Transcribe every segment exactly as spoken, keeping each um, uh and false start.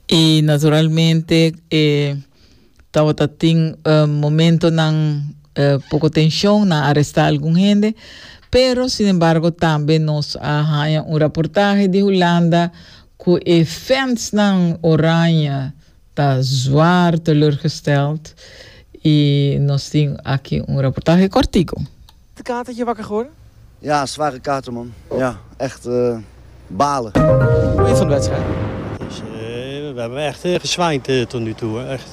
I naturalmente eh, tabata tin uh, momentonan uh, poko tenshon, nan a arestá algun hende, pero sin embargo tambe nos a haña un reportahe di Hulanda ku e fansnan oranje ta zwaar teleurgesteld i nos tin aki un reportahe kòrtiku. De katertje wakker geworden? Ja, zware kater, man. Ja, echt uh, balen. Hoe je van de wedstrijd? Dus, uh, we hebben echt uh, gezwijnd uh, tot nu toe. Hè. Echt.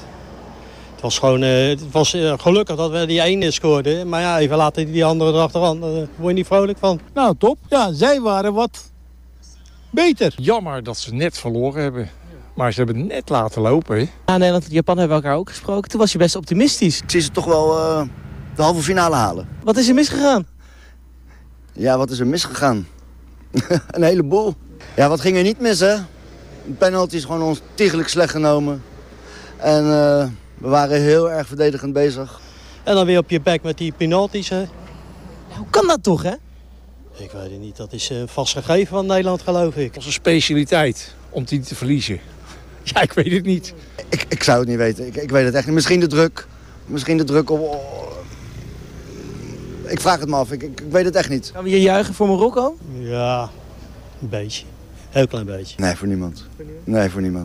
Het was gewoon, het was gelukkig dat we die ene scoorden. Maar ja, even later die andere erachteraan. Daar word je niet vrolijk van. Nou, top. Ja, zij waren wat beter. Jammer dat ze net verloren hebben. Maar ze hebben het net laten lopen. Hè? Ja, Nederland en Japan hebben elkaar ook gesproken. Toen was je best optimistisch. Ik zie ze toch wel uh, de halve finale halen. Wat is er misgegaan? Ja, wat is er misgegaan? Een heleboel. Ja, wat ging er niet mis, hè? Een penalty is gewoon ontiegelijk slecht genomen. En uh, we waren heel erg verdedigend bezig. En dan weer op je bek met die penalties, hè? Ja, hoe kan dat toch, hè? Ik weet het niet. Dat is een vast gegeven van Nederland, geloof ik. Onze specialiteit om die te verliezen. Ja, ik weet het niet. Ik, ik zou het niet weten. Ik, ik weet het echt niet. Misschien de druk. Misschien de druk op... Ik vraag het me af. Ik, ik, ik weet het echt niet. Gaan we hier juichen voor Marokko? Ja, een beetje. Heel klein beetje. Nee, voor niemand. Nee, voor niemand.